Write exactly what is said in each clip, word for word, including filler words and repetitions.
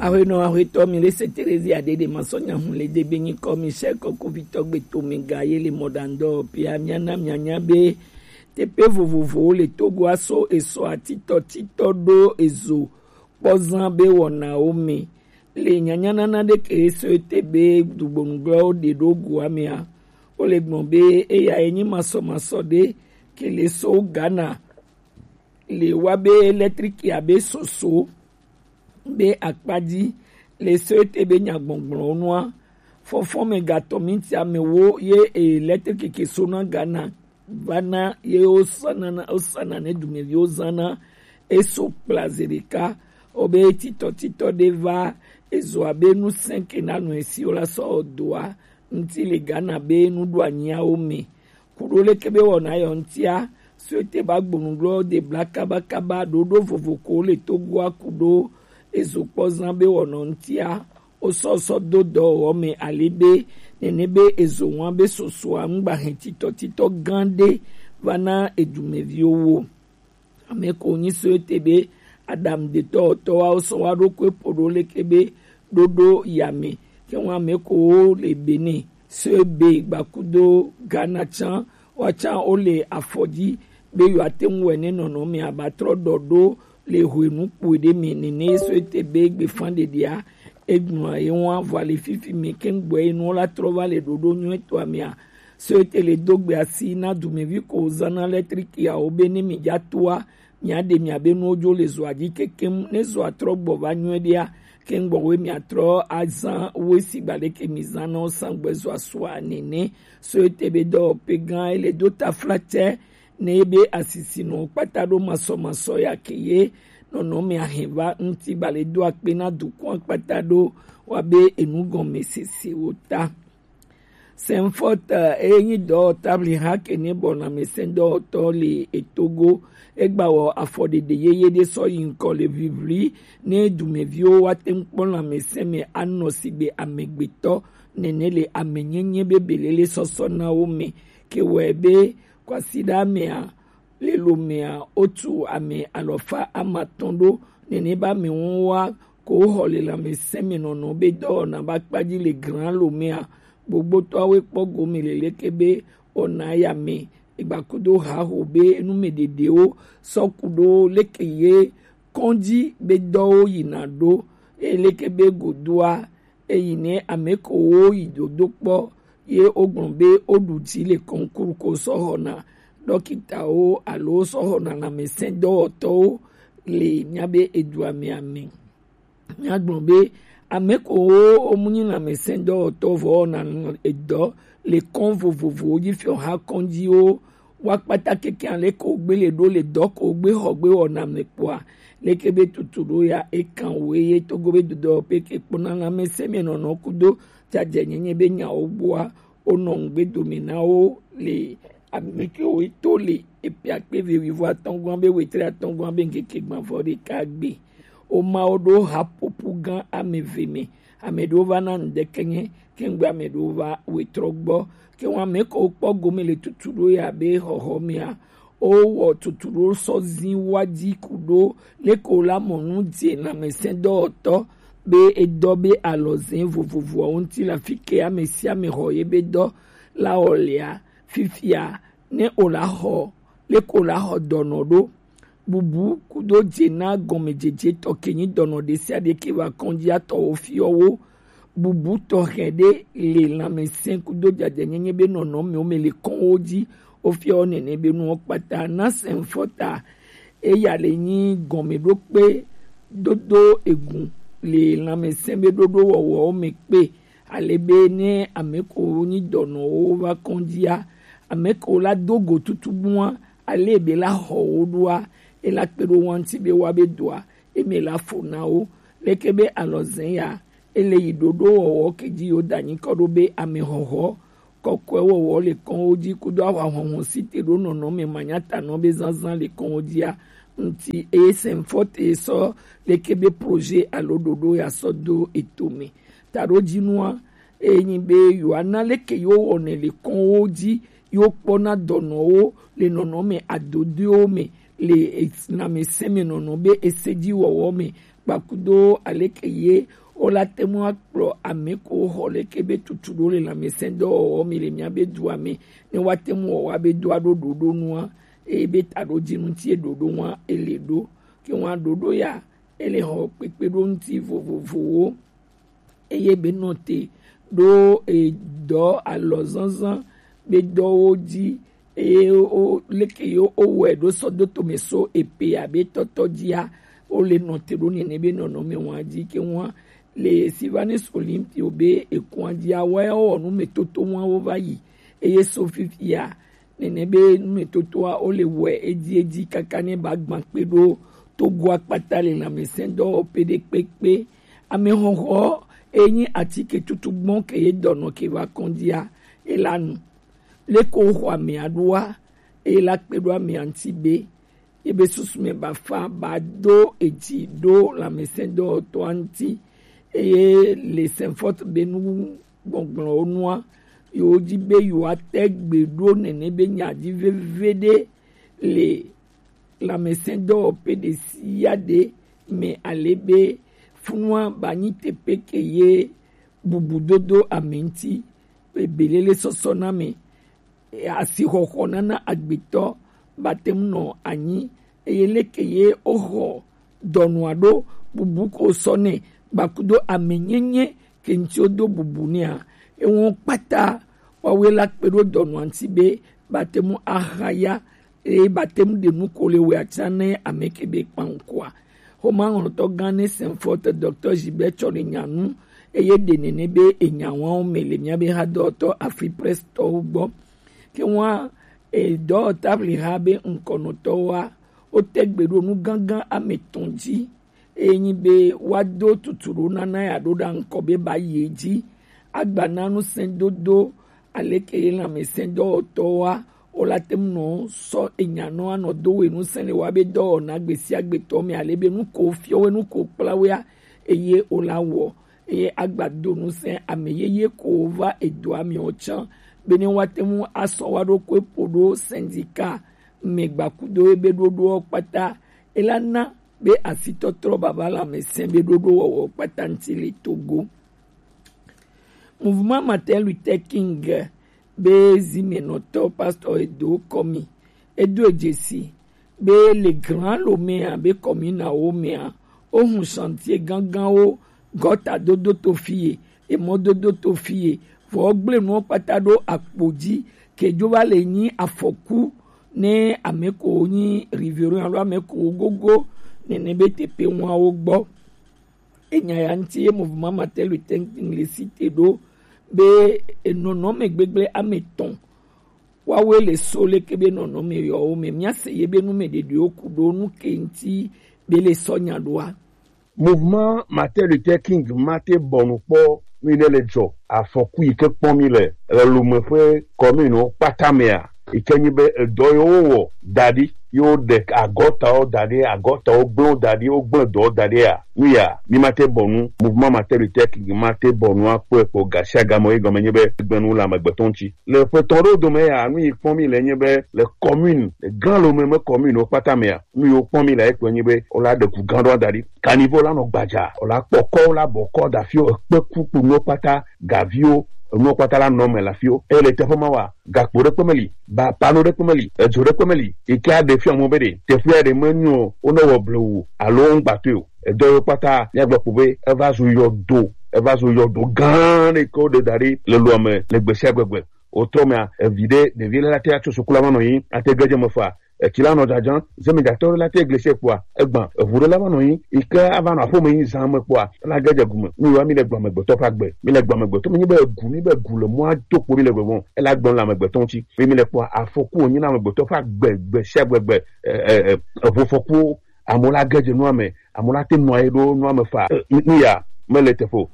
Ahuenɔ ahuetɔ mi le se Terezia ɖe ɖe masɔ nyahun le de be nyikɔ mi sɛ kɔkuvitɔ gbe to mi ga ye le mɔɖaŋdɔ pia miana mianya be teƒe vovovowo le Togoa so esɔ atitɔ titɔ ɖo ezo kpɔzã be wɔnawo me. Le nyanyanana ɖe ke so ete be dugbonuglɔwo ɖe ɖo gua mea, wo le gbɔn be eya enyi masɔmasɔ ɖe ke le so Ghana le wa be électrique abe soso be akpa dzi le so ete be nyagbɔgblɔwo nua. Fɔfɔ me gatɔ minti amewo ye électrique ke so na Ghana va na ye wosana na wosana ne dumeviwo zana eso kplaze ɖeka. Wobe titɔtitɔ ɖe va ezo abe nu sɛnke na nu esiwo la sɔ doa ŋuti le Ghana be nuɖoanyiawo me. Kuɖo leke be wɔna yɔ ŋutia, so ete ba gbonugblɔ de bla kabakaba ɖoɖo vovo ko le Togoa kuɖo ezo kpɔzã be wɔnɔ ŋutia, wosɔ sɔ do dɔwɔwɔ me ali be nene be ezo ŋua be sosoa ŋgba hɛn titɔtitɔ gã ɖe va na edumeviwo wo. Ame ko nyi so ete be aɖaŋudetɔwɔtɔwawo sɔ wa ɖo koe ƒo ɖo leke be ɖoɖo ya me. Ke ŋu ame ko wo le Benin so be gbakudo Ghana tsã wa tsã wo le afɔ dzi be yewoate ŋu wɔ ne nɔnɔme abatrɔ ɖɔ ɖo le hwenu kpui ɖe me nene so ete be gbefa ɖeɖea egblɔa ye ŋu avɔ le fifi me keŋ gbɔ ye nuwo la trɔ va le ɖoɖo nyuietɔa mea. So ete le do gbe asi na dumevi ko zana électrique yawo be ne mi dza toa mia ɖe mia be nuwo dzo le zoa dzi kekem ne zoa trɔ gbɔ va nyuie ɖea keŋ gbɔ we mia trɔ azã we si gba ɖeke mi zã na wo sã gbɛ zoa sua nene. So ete be dɔwɔƒe gã ele do taflatse ne be asisinɔ kpata ɖo masɔmasɔ ya ke ye nɔnɔme ahɛn va ŋuti gba le do akpe na dukɔa kpata ɖo wa be enu gɔme sesewo ta. Sɛnfɔt eye nyi dɔwɔtabli ha ke ne bɔ lãmesẽdɔwɔtɔ le etogo. Egba wɔ afɔɖeɖe yeye ɖe sɔ yi ŋkɔ le ʋiʋli ne dumeviwo wa te ŋu kpɔ lãmesẽ me anɔ sigbe amegbetɔ nene le amenyenye be belele sɔsɔ na wo me. Ke wɔe be kwasiɖa mea lelomea wotu ame alɔfa amatɔn ɖo nene ba me ŋu wa ko xɔ le lãmesẽ me nɔnɔ be dɔwɔna ba kpadzi le gran lomea. Gbogbotɔawo kpɔ gome le leke be wɔna ya me egbakudo haho be nu me ɖeɖewo sɔ ku ɖo leke ye kɔndzi be dɔwo yina ɖo eye leke be godoa eyi ne ame ko wo yi dodo kpɔ ye wogblɔ be woɖu dzi le kɔnkuru ko sɔ xɔna ɖɔkitawo alo sɔ xɔna lãmesẽdɔwɔtɔwo le míabe edua me ame. Míagblɔ be ame ko wo womu nyi lãmesẽdɔwɔtɔ vɔ wɔna edɔ le kɔn vovovowo dzi fiɔ ha kɔndziwo wa kpata keke ale ko gbe le ɖo le dɔ ko gbe xɔ gbe wɔna me kpɔa leke be tutu ɖo ya ekan wo eye togo be dodɔ pe ke kpɔna lãmesẽ me nɔnɔ kudo jajɛ nyenye be nyawo gbɔa wonɔ ŋugbe dome na wo le ame kewo to le eƒe akpe eve wuivo atɔ̃ gɔ̃a be wetri atɔ̃ gɔ̃a be ŋkeke gbãvɔ ɖeka gbe. Womawo ɖo haƒoƒu gã ame eve me. Ame ɖewo va na ŋdeke nye, ke ŋgbe ame ɖewo va wetrɔ gbɔ. Ke ŋu ame kewo kpɔ gome le tutu ɖo ya be xɔxɔ mea, wowɔ tutu ɖo sɔ zi wa dzi ku ɖo leke wo la mɔ nu dze lãmesẽdɔwɔtɔ be edɔ be alɔzẽ vovovoawo ŋuti le afi ke ame sia ame xɔ ye be dɔ la wɔ lea. Fifia ne o la xɔ leke o la xɔ dɔnɔ ɖo bubu kudo dze na gɔmedzedze tɔ ke nyi dɔnɔ ɖe sia ɖe ke va kɔndzia tɔwo fiɔ wo. Bubu tɔxɛ ɖe le lãmesẽ kudo jajɛnyenye be nɔnɔmewo me le kɔnwo dzi. Wofiɔ nene be nuwo kpata na sɛnfɔta eya le nyi gɔmeɖokpe dodo egu le lãmesẽ be ɖoɖo wɔwɔwo me kpe. Ale be ne ame ko nyi dɔnɔwo va kɔndzia, ame ko la do go tutugbua, ale be la xɔ wo ɖoa, ela kpe ɖo wa ŋuti be wa be doa eme la fo na wo. Leke be alɔzẽ ya ele yi ɖoɖo wɔwɔ ke dzi yo da nyikɔ ɖo be ame xɔxɔ kɔkɔe wɔwɔ le kɔnwo dzi kudo ahwa hɔhɔ si te ɖo nɔnɔme manyatanɔ be zazã le kɔnwo dzia ŋuti eye sɛnfɔ te sɔ leke be projet alo ɖoɖo ya sɔ do eto me. Taɖodzinua eye nyi be yewoana leke yewo wɔnɛ le kɔnwo dzi yewo kpɔna dɔnɔwo le nɔnɔme adodoewo me le lãmesẽ me nɔnɔ be ese dzi wɔwɔ me gbakudo aleke ye wo la te ŋu akplɔ ame ko xɔ leke be tutu ɖo le lãmesẽdɔwɔwɔ mi le mía be dua me, ne woate ŋu wɔ wa be do aɖo ɖoɖo nua, eye be taɖodzinu ŋuti ye ɖoɖo ŋua ele ɖo. Ke ŋua ɖoɖo ya ele xɔ kpekpeɖo ŋuti vovovowo, eye be nɔ te ɖo edɔ alɔzazã be dɔwo dzi, eye wo leke ye wowɔe ɖo sɔ do tome so epe abe tɔtɔ dzia, wo le nɔ te ɖo nene be nɔnɔme wa dzi ke ŋua le Sylvanus Olympio be ekua dzia, woawo wɔ numetoto wa wo va yi, eye so fifia nene be numetotoa wo le wɔe edzi edzi kaka ne ba gbã kpe ɖo Togo akpata le lãmesẽdɔwɔƒe ɖe kpekpe. Amexɔxɔ enyi atike tutu gbɔn ke ye dɔnɔ ke va kɔndzia, e la nu. Leke woxɔ amea ɖoa, eye la kpe ɖo amea ŋuti be ebe susu me bafa ba do edzi ɖo lãmesẽdɔwɔtɔa ŋuti, eye le Saint Fort be nu gbɔgblɔwo nua, yewo dzi be yewoate gbe ɖo nene be nya dzi veviɖe le lãmesẽdɔwɔƒe ɖe sia ɖe me, ale be funua ba nyi teƒe ke ye bubu dodo ame ŋuti, be belele sɔsɔ na me, asixɔxɔ nana agbetɔ ba te ŋu nɔ anyi, eye leke ye woxɔ dɔnɔa ɖo bubu ko sɔ nɛ gbakudo amenyenye ke ŋuti wodo bubu nɛa, ewo kpata woawoe la kpe ɖo dɔnɔa ŋuti be ba te ŋu ahaya, eye ba te ŋu ɖe nu ko le wɛ atsa ne ame ke be kpaŋkɔa. Xomɛaŋlɔtɔ gã ne Saint Fort, Docteur Gilbert Tsɔne nya nu, eye ɖe nene be enya wawo me le mía be hadɔwɔtɔ Afripress tɔwo gbɔ. Ke ŋua, e, dɔwɔtɔ Afriha be ŋkɔnɔtɔwoa, wote gbe ɖo nu gãgã ame etɔ̃ dzi, eye nyi be woado tutu ɖo nana ya ɖo ɖa ŋkɔ be ba yi edzi, agba na nusẽdodo, aleke ye lãmesẽdɔwɔtɔwoa, wo la te ŋu nɔ sɔ enya nɔ anɔ do we nusẽ le wa be dɔwɔna gbe sia gbe tɔ me, ale be nu ko fiɔ we, nu ko kpla wea, eye wo la wɔ, eye agba do nusẽ ame yeye ko va edoa me o tsã, be ne woate ŋu asɔ wa ɖokui ƒo ɖo syndicat me gbakudo ebe ɖoɖoɔ kpata, ela na be asitɔtrɔ baba lãmesẽ be ɖoɖowɔwɔ kpata ŋuti le Togo. Mouvement Martin Luther King be zimenɔtɔ Pastor Edo Kɔmi, edo dzesi be le Grand Lomé a be kɔminawo mea, wohu chantier gãgãwo, gɔta dodo to fie, emɔdodo to fie, vɔ wogblẽ nuwo kpata ɖo akpo dzi, ke dzo va le nyi afɔku ne ame ko nyi riverain alo ame ko gogo nene be teƒe ŋuawo gbɔ. Enya ya ŋuti ye Mouvement Martin Luther King le cité ɖo be enɔnɔme gbegblẽ ame etɔ̃ woawoe le so leke be nɔnɔme yɔwo me. Míase ye be nu me ɖeɖewo ku ɖo nu ke ŋuti be le sɔ nya ɖoa. Mouvement Martin Luther King mate bɔnu kpɔ nu yi ne le dzɔ afɔku yi ke kpɔm mi le le Lomé ƒe kɔminu kpata mea, yi ke nyi be edɔ yi wowɔ da ɖi, yi woɖe agɔtawo da ɖi, agɔtawo gblẽ da ɖi, wogblẽ dɔwo da ɖi ya, nu ya, mi mate bɔnu, Mouvement Martin Luther King mate bɔnu akpɔe kpɔ gasiagame, yi gɔme nyi be gblẽ nu le amegbetɔ ŋuti. Le ƒe etɔ̃ ɖewo dome ya, nu yi kpɔm mi le nye be le commune, le Grand Lomé me commune wo kpata mea, nu yi wokpɔm mi le ekpɔe nyi be wola ɖe gu gã ɖewo da ɖi. Caniveau la nɔ gbadza, wola kpɔ kɔ, wola bɔ kɔ da fio, ekpe ku kpo nuwo kpata, gaviwo, enuwo kpata la nɔ me le afio. Eye le teƒe ma wa, gakpo ɖekpe meli, ba pano ɖekpe meli, edzo ɖekpe meli, yi ke aɖe fia mɔ be ɖe teƒea ɖe menyo o, wonewɔ blewu alo woŋgbatɔe o. Edɔ yiwo kpata míagblɔ kpo be eva zu yɔdo, eva zu yɔdo gã ɖe ke woɖe da ɖi le loa me le gbe sia gbe gbe. Wotrɔ mea, evi ɖe, ɖevi ɖe la te atso suku la va nɔ anyi, ate ge dze me faa, etsi la nɔ dzadzam, zemidzatɔ ɖe la te glesie kpɔa, egbã, eʋu ɖe la va nɔ anyi, yi ke ava nɔ aƒeme yi zã me kpɔa, la ge dze gume. Nu yiwa mi le gblɔ amegbetɔ ƒe agbe, mi le gblɔ amegbetɔ, mi nyi be egu, mi be gu le mɔa to kpo mi le gbɔgbɔ, ela gblɔ le amegbetɔ ŋuti. Mi, mi le kpɔa, afɔku wònyi na amegbetɔ ƒe agbe, gbe sia gbe gbe, e, e, e, eʋufɔkuwo, amewo la ge dze nua me, amewo la te nɔ anyi ɖo nua me faa. E, nu, nu ya mele teƒe o.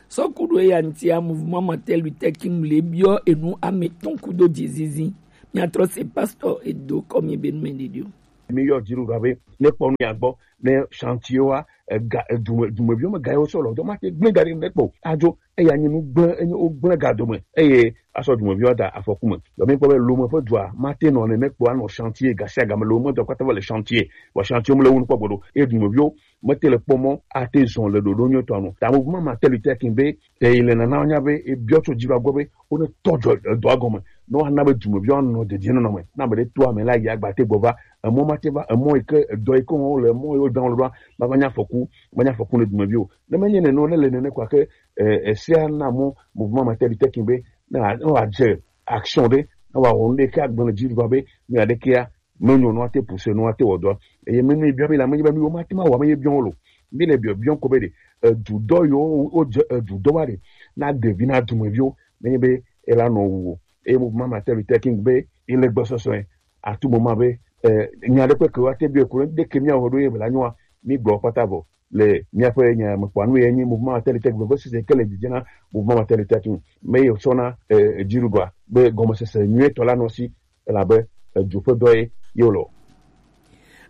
Sɔ ku ɖo eya ŋutia, Mouvement Martin Luther King le biɔ enu ame etɔ̃ kudo dzizizi. Míatrɔ se Pastor Edo Kɔmi be nu me ɖeɖi o. Mi yɔ dziɖuɖua be ne kpɔ nu ya gbɔ, ne chantier wa, ega, edume-, dumeviwo me ga yewo sɔ lɔ dɔ ma te gblẽ ga ɖe ne kpɔ. Adzo, eya nye nu gblẽ, enye wo gblẽ ga dome, eye asɔ dumeviwo da afɔku me. Dɔ mi kpɔ be Lome ƒe dua ma te nɔ nene kpɔ, anɔ chantier, ga sia ga me le wo me dɔ kpata va le chantier, vɔ chantier me le wo nu kpɔ gbeɖo, eye dumeviwo mete le kpɔ mɔ ate zɔn le ɖoɖo nyuitɔ nu. Ta mo ma ma teli tekin be te yi le nana nya be e biɔ tso dzi va gbɔ be wo ne tɔ jɔ edɔa gɔme. Ne woana be dumeviwo anɔ dedienɔnɔ me, na ame ɖe to ame la yi agba te gbɔ va, emɔ ma te va, emɔ yi ke, edɔ yi ke wɔm wole, emɔ yi wodan wo le ɖoa, ma va nya afɔku, ma nya afɔku ne dumeviwo. Ne menye nene o, ne le nene kɔa ke, eh, esia na mɔ mouvement Martin Luther King be ne wa-, ne wòadze action ɖe, ne wòawɔ nu ɖe ke agblẽ le dzi ɖoa be nu ya ɖekea menyo nua te pousse nua te wɔ dɔa. Eye mi, mi biɔ mi la, menye be mi wo ma te ma wɔ, menye biɔ wo lo. Mi le biɔ, biɔ ko be ɖe, edu dɔ yo, wo dze edu dɔ wa ɖe, na ɖevi, na dumeviwo, menye be ela nɔ wu o. Eye mo ma ma te lu tekin be, ele gbɔsɔsɔ ye, atu mo ma be, eh, nya ɖe kpe ke wa te biɔ ko ɖe ke mi awɔ ɖo ye be la nyoa, mi gblɔ kpata vɔ. Le miaƒe nya me kpɔa nu ye nyi mouvement Martin Luther King vevesese ke le dzidzena mouvement Martin Luther King me ye sɔna, eh, dziɖuɖua be gɔmesese nyuietɔ la nɔ si, elabe edu ƒe dɔ ye ye wòle.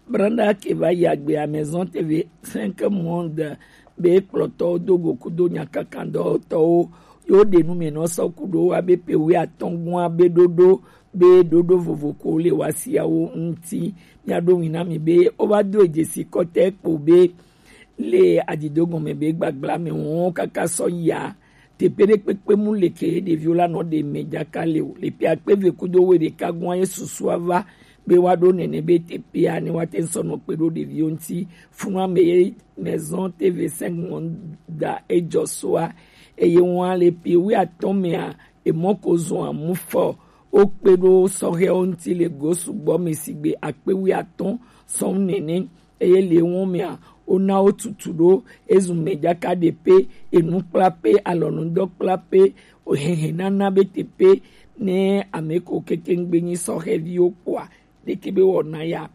Brenda ke va yi agbe à Maison T V cinq Monde be kplɔtɔwo do go kudo nyakakan dɔwɔtɔwo yo ɖe nu me nɔ sɔ kudo wa be pe wi atɔngua be ɖoɖo be ɖoɖo vovo ko le wa siawo ŋuti. Mia ɖo ŋui na mi be wo va do dzesi kɔtɛ kpo be le adzido gɔme be gbagblã me wɔn kaka sɔ ya. Teƒe ɖe kpekpe mu le ke ɖeviwo la nɔ ɖe me dzaka le o. Le ƒe akpe eve kudo wuiɖeka gɔa ye susua va be woaɖo nene be teƒea ne woate ŋu sɔ nɔ kpe ɖo ɖeviwo ŋuti. Funua me ye Maison T V cinq Monde da edzɔ soa. Eye wɔn le ƒe wuiatɔ̃ mea, emɔ ko zɔa mu fɔ. Wokpe ɖo sɔhɛwo ŋuti le go sugbɔ me sigbe akpe wuiatɔ̃ sɔm nene. Eye le wo mea, wona wo tutu ɖo ezu mɛ dzaka ɖe pe, enu kpla pe, alɔnudɔ kpla pe, ohehe nana be te pe, ne ame ko keke ŋgbe nyi sɔhɛviwo kpɔa, ɖeke be wɔna ya,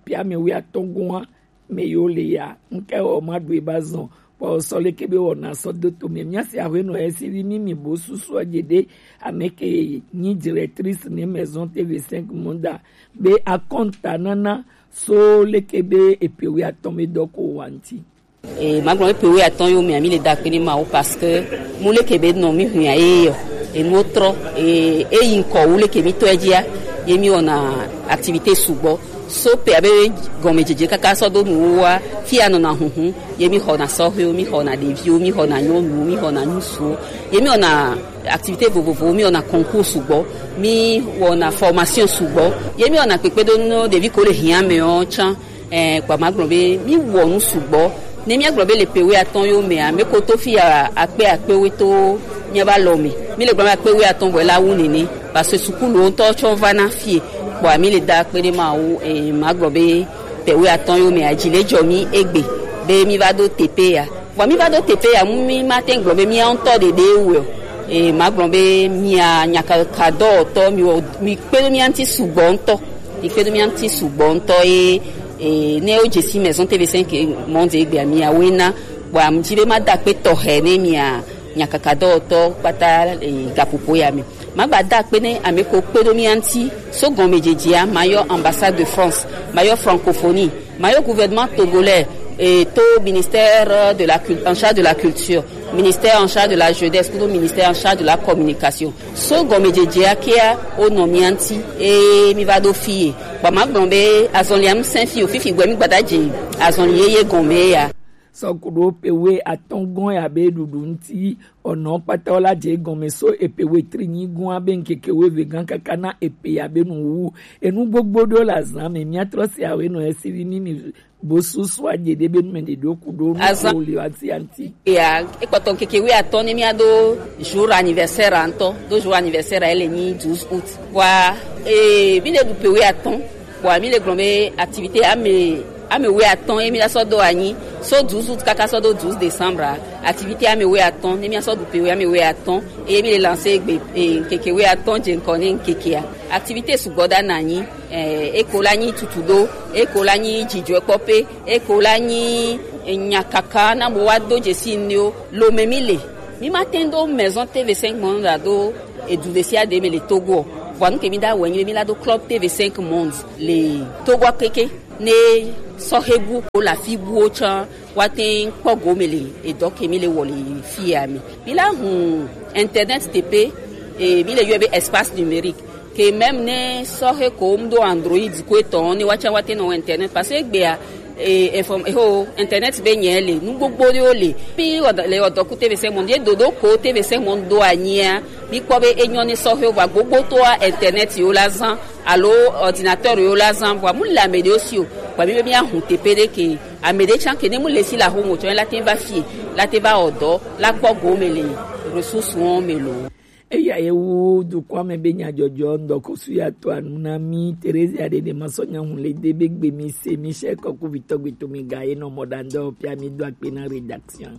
pe ame wuiatɔ̃ gɔa, me yo le ya, ŋke wɔ ma ɖu eba zɔn, kpɔ sɔ leke be wɔna sɔ do to me. Mia si awe nɔ esi vi mi mi bo susu adze ɖe, ame ke nyi directrice ne Maison T V cinq Monde be akɔnta nana so leke be epe wuiatɔ̃ me dɔ ko wa ŋuti. E, magblɔ be pe wuiatɔ̃ yo mea, mi le da akpe ne Mawu parce que mu leke be nɔ mi huia ye yɔ. Enuwo trɔ, e, eyi ŋkɔ wu leke mi tɔe dzia, ye mi wɔna activité sugbɔ. So pe abe gɔmedzedze kaka sɔ do nuwo wa, fi ya nɔna huhu, ye mi xɔna sɔhɛwo, mi xɔna ɖeviwo, mi xɔna nyɔnuwo, mi xɔna ŋutsuwo, ye mi wɔna activité vovovowo, mi wɔna concours sugbɔ, mi wɔna formation sugbɔ, ye mi wɔna kpekpeɖeŋu ɖevi ko le hiã me ɔ tsã. Eh, kpa magblɔ be mi wɔ nu sugbɔ. Ne mi agblɔ be le pe wuiatɔ̃ yo mea, me ko to fi ya akpe akpe we to mi ba lɔ me. Mi le gblɔ be akpe wuiatɔ̃ bɔ la wu nene. Parce que sukulu ŋutɔ tsɔ va na fie. Kpɔa mi le da akpe ne Mawu, eh, magblɔ be pe wuiatɔ̃ yo mea, dzi le dzɔ mi egbe be mi va do teƒe ya. Vɔ mi va do teƒe ya, mu mi ma te gblɔ be mi ŋutɔ ɖeɖe wɔ. Eh, magblɔ be mia nyakaka dɔwɔtɔ, mi wɔ, mi kpe ɖe mia ŋuti sugbɔ ŋutɔ. Mi kpe ɖe mia ŋuti sugbɔ ŋutɔ ye, eh, ne wo dze si Maison T V cinq Monde egbea mia woe na. Kpɔa mu dzi be ma da akpe tɔxɛ ne mia nyakaka dɔwɔtɔ kpata, eh, gaƒoƒo ya me. Magba da akpe ne ame ko kpe ɖo mía ŋuti. So gɔmedzedzea, mayɔ ambassade de France, mayɔ francophonie, mayɔ gouvernement togolais, et to ministère de la cul-, en charge de la culture, ministère en charge de la jeunesse, kudo ministère en charge de la communication. So gɔmedzedzea kea, wonɔ mía ŋuti, eye mi va ɖo fie. Kpa magblɔ be azɔlia ŋusẽ fi o, fifi gbɛ mi gbada dzi azɔli yeye gɔme ya. Sɔ ku ɖo pe wuiatɔ̃ gɔ̃ ya be ɖuɖu ŋuti, ɔnɔ kpata wo la dze egɔme so epe wuietri nyi gɔ̃a be ŋkeke wuieve gã kaka na epe ya be nuwuwu. Enu gbogbo ɖewo le azã me, míatrɔ se awoe nɔ esi vi mi mi bo susu adze ɖe be nume ɖeɖewo ku ɖo nu Azã. Ko le asi anti. Ya, ekpɔtɔ ŋkeke wuiatɔ̃ ne míado jour anniversaire ŋutɔ, do jour anniversaire ele nyi douze août. Wa, e, mi le ɖu pe wuiatɔ̃. Kpɔa mi le gblɔ be activité ame, ame wuiatɔ̃ ye mi la sɔ do anyi. So douze août kaka sɔ do douze décembre. Activité ame wuiatɔ̃, ne mi asɔ du pe ame wuiatɔ̃, eye mi le lancer egbe, eh, ŋkeke wuiatɔ̃ dze ŋkɔ ne ŋkekea. Activité sugbɔ ɖa na anyi, eh, eko la nyi tutu ɖo, eko la nyi dzidzɔkpɔƒe, eko la nyi, eh, nyakaka na bo wa do dzesi nuwo. Lome mi le. Mi ma te do Maison T V cinq Monde do edu ɖe sia ɖe me le Togo. Vɔa nu ke mi da wɔ nyi be mi la do Club T V cinq Monde le Togo keke. Ne sɔxe bu ko la fi buwo tsã wa te kpɔ gome le edɔ ke mi le wɔ le fi ya mi. Mi la hun internet tepe e mi le yɔ be espace numérique. Ke même ne sɔxe ko mu do Android ko etɔn ne wa tsã wa te nɔ internet parce que egbea e inform e ho internet be nyɛ le nu gbogbo ɖewo le. Mi ɔdɔ le ɔdɔ ku T V cinq monde ye dodo ko T V cinq monde do anyia. Mi kpɔ be enyɔ ne sɔxe wa gbogbo to internet yo la zan alo ordinateur yo la zan vɔa mu le ame ɖewo si o. Vɔa mi be mi ahun tepe ɖe ke ame ɖe tsã ke ne mu le si la ho mo tsɔ la te va fie la te va ɔdɔ la kpɔ gome le ressource wɔn me lo. Eya ye wu dukɔa me be nyadzɔdzɔ ŋdɔkɔsu ya to anu na mi. Teresia ɖe ɖe ma sɔ nyahun le de be gbe mi se mi se kɔku vitɔ gbe to mi ga ye nɔ mɔ ɖa ŋdɔ pia mi do akpe na rédaction.